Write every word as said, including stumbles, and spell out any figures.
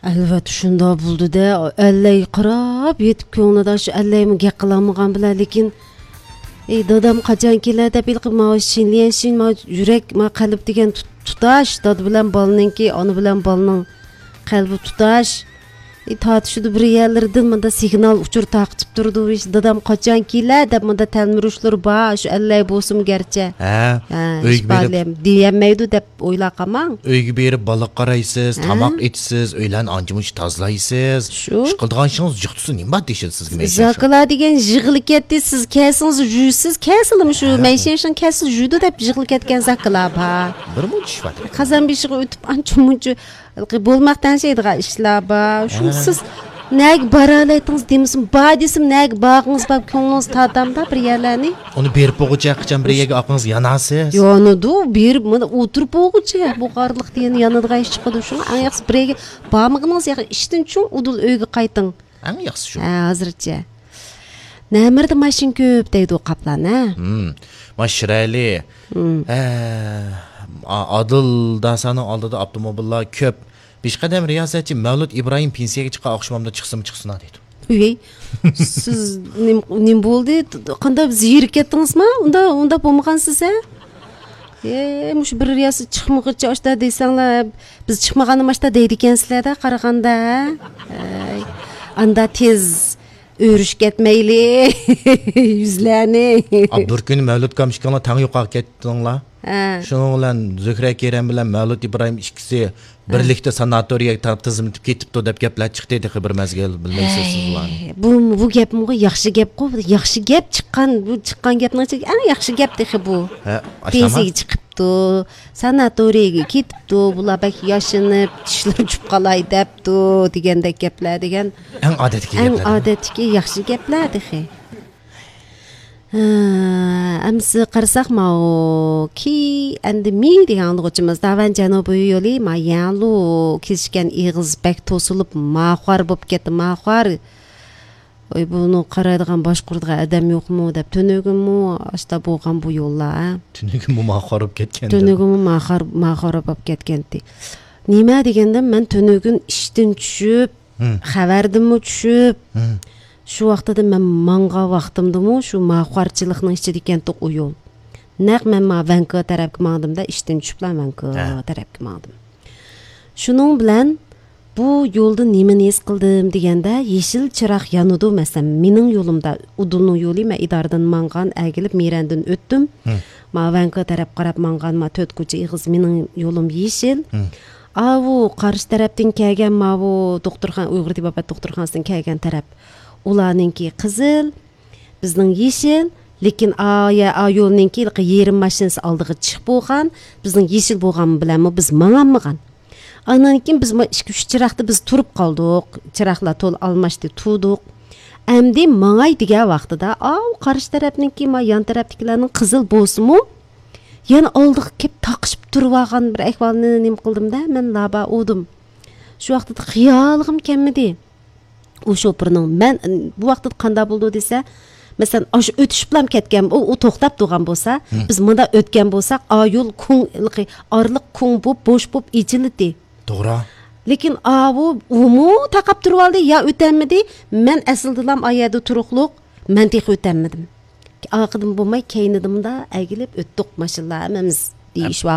ئەلۋەتتە شۇنداق بولدى-دە، ئەللەيگە قاراپ يېتىپ كۆڭلىدە شۇ ئەللەيمۇ گەپ قىلالمىغان بىلەن، لېكىن، ئەي، دادام قاچان كېلە دەپ ھېلىقى ماۋۇ شىنليەنشىن، ماۋۇ يۈرەك، ماۋۇ قەلب دېگەن تۇت-، تۇتاش، دادا بىلەن بالىنىڭكى، ئانا بىلەن بالىنىڭ قەلبى تۇتاش. ئەي، تارتىشىدۇ بىر يەرلىرىدىن مۇندا سىگنال ئۇچۇر تارقىتىپ تۇرىدۇ، ھېچ دادام قاچان كېلە دەپ مۇندا تەلمۈرۈشلىرى بار، شۇ ئەللەي بولسىمۇ گەرچە. ھە، ھە، ئۆيگە بېرىپ دېيەلمەيدۇ دەپ ئويلاپ قالماڭ. ئۆيگە بېرىپ بالىغا قارايسىز، ھە؟ تاماق ئېتىسىز، ئۆيلەرنى ئانچە-مۇنچە تازىلايسىز. شۇ. ئىش قىلىدىغان ئىشىڭىز جىق تۇرسا نېمە بار دېيىشىدۇ سىزگە مەيشەنشىڭ. زاكىلا دېگەن يىغىلىپ كەتتى، سىز كەلسىڭىز يۇيىسىز، كەلسىلىمۇ شۇ ھە. مەيشەنشىڭ كەلسە يۇيىدۇ دەپ يىغىلىپ كەتكەن زاكىلا بار. بىر مۇنچە ئىش بار. قازان بېشىغا ئۆتۈپ ئانچە-مۇنچە بولماق تەڭشەيدىغان ئىشلار بار. شۇ ھە. سىز نەگە بارالايتىڭىز دېمىسىمۇ، بار دېسىمۇ، نەگە بارغىڭىز بار، كۆڭلىڭىز تارتامدا بىر يەرلەرنى. ئۇنى بېرىپ بولغۇچە قاچان بىر يەرگە ئاقىڭىز يانارسىز. يانىدۇ، بېرىپ مانا ئولتۇرۇپ بولغۇچە، بۇ قارلىقتا يەنە يانىدىغان ئىش چىقىدۇ. شۇڭا ئەڭ ياخشىسى بىر يەرگە بارمىغىنىڭىز ياخشى. ئىشتىن چۈشۈڭ ئۇدۇل ئۆيگە قايتىڭ. ئەڭ ياخشىسى شۇ. ھە، ھازىرچە. نەمىرىدە ماشىنا كۆپ دەيدۇ قاپلان، ھە؟ ھىم. ما شىرەلى. ھىم. ھە، ئا-، ئادىل داسانىڭ ئالدىدا ئاپتوموبىللار كۆپ. بىشقەدەم رىياسەتچى مەۋلۇت ئىبراھىم پېنسىيەگە چىققان ئاخشىمامدا چىقسىمۇ چىقسۇن دەيدۇ. ئۆي، سىز نېمە، نېمە بولدى؟ قانداق زېرىكىپ كەتتىڭىزما؟ ئۇنداق، ئۇنداق بولمىغانسىز، ھە؟ ئەي، مۇشۇ بىر رىياسەت چىقمىغۇچە ئاشتا دېسەڭلار، بىز چىقمىغاندا ماشتا دەيدىكەنسىلەردە قارىغاندا، ھە؟ ئەي، ئاندا تېز ئۆرۈشۈپ كەتمەيلى يۈزلەرنى. ئا، بىر كۈنى مەۋلۇت كام ئىككىڭلار تەڭ يوقاپ كەتتىڭلار. ھە. شۇنىڭ بىلەن زۆھرە كېرەم بىلەن مەۋلۇت ئىبراھىم ئىككىسى ھە. بىرلىكتە ساناتورىيەگە تا-، تىزىملىتىپ كېتىپتۇ دەپ گەپلەر چىقتى، تېخى بىر مەزگىل بىلمەيسىز سىز بۇلارنى. ھەي، بۇ، بۇ گەپمۇ ياخشى گەپقۇ، ياخشى گەپ چىققان، بۇ چىققان گەپنىڭ ئىچىدە ئەڭ ياخشى گەپ تېخى بۇ. ھە، ئاشتاما؟ پېنسىيەگە چىقىپتۇ، ساناتورىيەگە كېتىپتۇ، بۇلار بەك ياشىنىپ، چىشلىرى چۈشۈپ قالاي دەپتۇ، دېگەندەك گەپلەر دېگەن. ئەڭ ئادەتتىكى ئەڭ گەپلەر. ئادەتتىكى ياخشى گەپلەر تېخى. ھە، ئەمسە قارىساق، ماۋۇ كى ئەندى مى دېگەن ئاڭلىغۇچىمىز داۋەن جەنۇبىي يولى، ما يەڭلۇ كېسىشكەن ئېغىز بەك توسۇلۇپ، ماخۇار بولۇپ كەتتى، ماخۇار. ۋاي، بۇنى قارايدىغان، باشقۇرىدىغان ئادەم يوقمۇ دەپ، تۈنۈگۈنمۇ ئاشتا بولغان بۇ يوللار، ھە؟ تۈنۈگۈنمۇ ماخۇار بولۇپ كەتكەن. تۈنۈگۈنمۇ ماخۇار، ماخۇار بولۇپ كەتكەنتى. نېمە دېگەندە، مەن تۈنۈگۈن ئىشتىن چۈشۈپ، ھىم. خەۋەردىنمۇ چۈشۈپ، ھىم. شۇ ۋاقتىدا مەن ماڭغان ۋاقتىمدىمۇ شۇ ماخۇارچىلىقنىڭ ئىچىدە ئىكەنتۇق ئۇ يول. نەق مەن ما ۋەنكۇ تەرەپكە ماڭدىم-دە، ئىشتىن چۈشۈپلا ۋەنكۇ ھە. تەرەپكە ماڭدىم. شۇنىڭ بىلەن بۇ يولدا نېمىنى ھېس قىلدىم دېگەندە، يېشىل چىراغ يانىدۇ، مەسىلەن، مېنىڭ يولۇمدا، ئۇدۇلنىڭ يولى، مەن ئىدارىدىن ماڭغان، ئەگىلىپ مىرەندىن ئۆتتۈم. ھىم. ما ۋەنكۇ تەرەپ قاراپ ماڭغان، ما تۆت كوچا ئېغىز مېنىڭ يولۇم يېشىل. ھىم. ئاۋۇ قارشى تەرەپتىن كەلگەن ماۋۇ دوختۇرخانا، ئۇيغۇر تېبابەت دوختۇرخانىسىدىن كەلگەن تەرەپ، ئۇلارنىڭكى قىزىل، بىزنىڭ يېشىل، لېكىن ئا، يا، ئا يولنىڭكى يېرىم ماشىنىسى ئالدىغا چىقىپ بولغان، بىزنىڭ يېشىل بولغان بىلەنمۇ بىز ماڭالمىغان. ئاندىن كېيىن بىز ما ئىككى، ئۈچ چىراغدا بىز تۇرۇپ قالدۇق، چىراغلار تولا ئالماشتى، تۇردۇق. ئەمدى ماڭاي دېگەن ۋاقتىدا، ئاۋۇ قارشى تەرەپنىڭكى، ما يان تەرەپتىكىلەرنىڭ قىزىل بولسىمۇ، يەنە ئالدىغا كېلىپ تاقىشىپ تۇرۇۋالغان بىر ئەھۋالنى نېمە قىلدىم-دە، مەن لابا ئۇدۇم. شۇ ۋاقتىدا خىيالىغىمۇ كەلمىدى. ئۇ شوپۇرنىڭ مەن، بۇ ۋاقىتتا قانداق بولىدۇ دېسە، مەسىلەن، ئاشۇ ئۆتۈشۈپلام كەتكەن، ئۇ، ئۇ توختاپ تۇرغان بولسا، ھىم. بىز مۇنداق ئۆتكەن بولساق، ئا يول كۇڭ، ئارىلىق كۇڭ بوپ، بوش بوپ ئېچىلدى. توغرا. لېكىن ئاۋۇ، ئۇمۇ تاقاپ تۇرۇۋالدى، يا ئۆتەلمىدى. مەن ئەسلىدىلام ئا يەردە تۇرۇقلۇق، مەن تېخى ئۆتەلمىدىم. ئارقىدىن بولماي، كەينىدىمدا ئەگىلىپ ئۆتتۇق ماشىنىلار ھەممىمىز دېيىش ھە.